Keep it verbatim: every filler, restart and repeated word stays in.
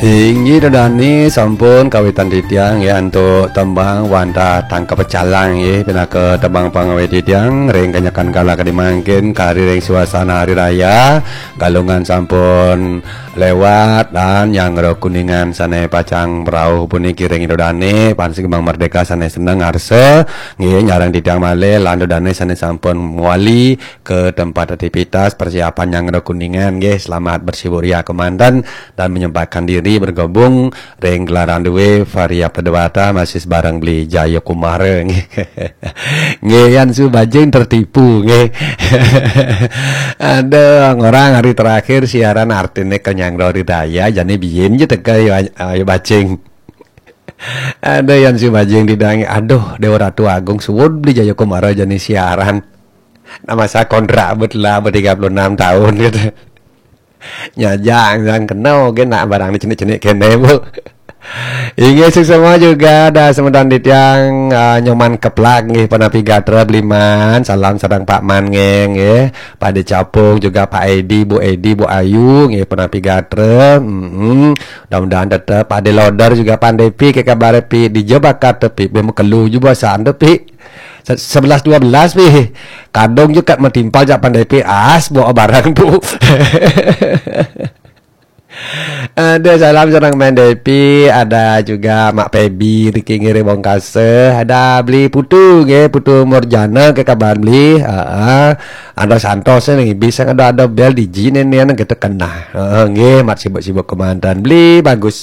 Inggih, ida dane sampun kawitan titiang, ya, antuk tembang wantah tangkep calang, ya, pinaka tembang pangawit titiang ring kanyakan kala kadi mangkin, kari ring suasana hari raya. Galungan sampun lewat, lan nyanggra kuningan sane pacang prauh puniki ring ida dane, pang sing Merdeka sane seneng ngarsa, nggih, nyareng titiang malih, lan ida dane sane sampun mawali ke tempat aktivitas persiapan nyanggra kuningan, nggih. Selamat bersibuk ria kemanten dan menyempatkan diri bergabung ring gelaran duwe Varia Pedewata masih bareng Beli Jaya Kumara, nggih. Nggih, yan su bajing tertipu, nggih. Aduh, orang hari terakhir siaran artine ke nyanggra ri daya, jane biyen je teka, ayo, ayo bajing. Aduh, yan su bajing didangi. Aduh, Dewa Ratu Agung suud Beli Jaya Kumara jani siaran. Nah, masa kontrak bet lah, bet tiga puluh enam tahun, gitu. Nyajang, yang kena, oke, nak barang ni cenik-cenik kene, Bu. Inggih, suksma juga ada semeton titiang, ah, Nyoman Keplak, nggih, Penapi Gatra, Beliman, salam sareng Pak Man, nggih, nggih. Pak De Capung juga, Pak Edi, Bu Edi, Bu Ayu, nggih, Penapi Gatra. Mm-mm. Mudah-mudahan tetep Pak De Loder juga, Pan Depi, ke kabar Pi, di Jakarta Pi, be mekelu juga saan tu, Pi. Se-, sebelas dua belas, Pi. Kadung juga metimpal jak Pan Depi, as, bawa barang tu. Ada salam sareng Pan Depi, ada juga Mak Pebi, Riki Ngiri Bongkasa, ada Beli Putu, nggih, Putu Murjana, ke kabar Beli. Heeh. Ada Santos, nggih, bisa ada, ada bel di jin ini, kita kena. Heeh, nggih, mat sibuk-sibuk kemanten. Beli, bagus.